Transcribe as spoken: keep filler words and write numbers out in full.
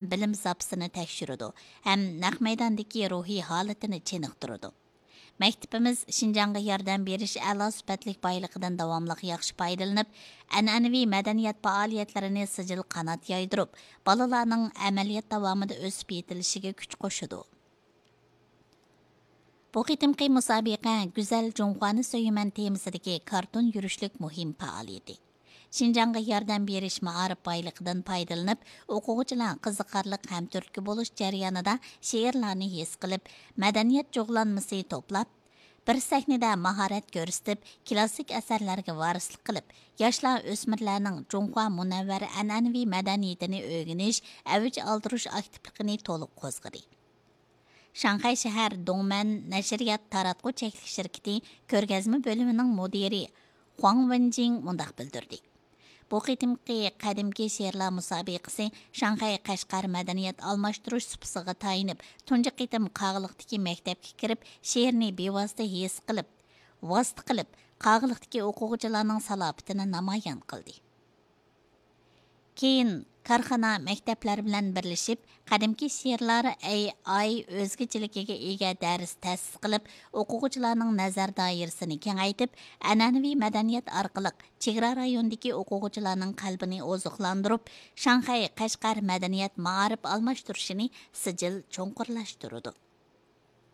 بىلىم زاپىسىنى تەكشۈرىدۇ ھەم نەق مەيداندىكى روھىي ھالىتىنى چېنىقتۇرىدۇ. مەكتىپىمىز شىنجاڭغا ياردەم بېرىش ئەلا سۈپەتلىك بايلىقىدىن داۋاملىق ياخشى پايدىلىنىپ، ئەنئەنىۋى مەدەنىيەت پائالىيەتلىرىنى سىجىل قانات يايدۇرۇپ، بالىلارنىڭ ئەمەلىيەت داۋامىدا ئۆسۈپ يېتىلىشىگە كۈچ قوشىدۇ. بۇ قېتىمقى مۇسابىقە گۈزەل جۇڭخۇانى سۆيىمەن تېمىسىدىكى كارتون يۈرۈشلۈك مۇھىم پائالىيىتى. شىنجاڭغا ياردەم بېرىش مائارىپ بايلىقىدىن پايدىلىنىپ، ئوقۇغۇچىلار قىزىقارلىق ھەم تۈرتكە بولۇش جەريانىدا شېئىرلارنى ھېس قىلىپ، مەدەنىيەت جۇغلانمىسى توپلاپ، بىر سەھنىدە ماھارەت كۆرسىتىپ، كلاسسىك ئەسەرلەرگە ۋارىسلىق قىلىپ، ياشلار، ئۆسمۈرلەرنىڭ جۇڭخۇا مۇنەۋۋەر ئەنئەنىۋى مەدەنىيىتىنى ئۆگىنىش، ئەۋج ئالدۇرۇش ئاكتىپلىقىنى تولۇق قوزغىدى. شاڭخەي شەھەر دوڭمەن نەشرىيات تاراتقۇ چەكلىك شىركىتى كۆرگەزمە بۆلۈمىنىڭ مۇدىرى خۇاڭ ۋېنجىڭ مۇنداق بىلدۈردى: بۇ قېتىمقى قەدىمكى شېئىرلار مۇسابىقىسى شاڭخەي قەشقەر مەدەنىيەت ئالماشتۇرۇش سۇپىسىغا تايىنىپ، تۇنجى قېتىم قاغىلىقتىكى مەكتەپكە كىرىپ، شېئىرنى بىۋاسىتە ھېس قىلىپ، ۋاسىتە قىلىپ، قاغىلىقتىكى ئوقۇغۇچىلارنىڭ سالاپىتىنى نامايان قىلدى. كېيىن كارخانا، مەكتەپلەر بىلەن بىرلىشىپ، قەدىمكى شېئىرلار ئەي ئاي ئۆزگىچىلىكىگە ئىگە دەرس تەسىس قىلىپ، ئوقۇغۇچىلارنىڭ نەزەر دائىرىسىنى كېڭەيتىپ، ئەنئەنىۋى مەدەنىيەت ئارقىلىق چېگرا رايونىدىكى ئوقۇغۇچىلارنىڭ قەلبىنى ئوزۇقلاندۇرۇپ، شاڭخەي قەشقەر مەدەنىيەت مائارىپ ئالماشتۇرۇشىنى سىجىل چوڭقۇرلاشتۇرىدۇ.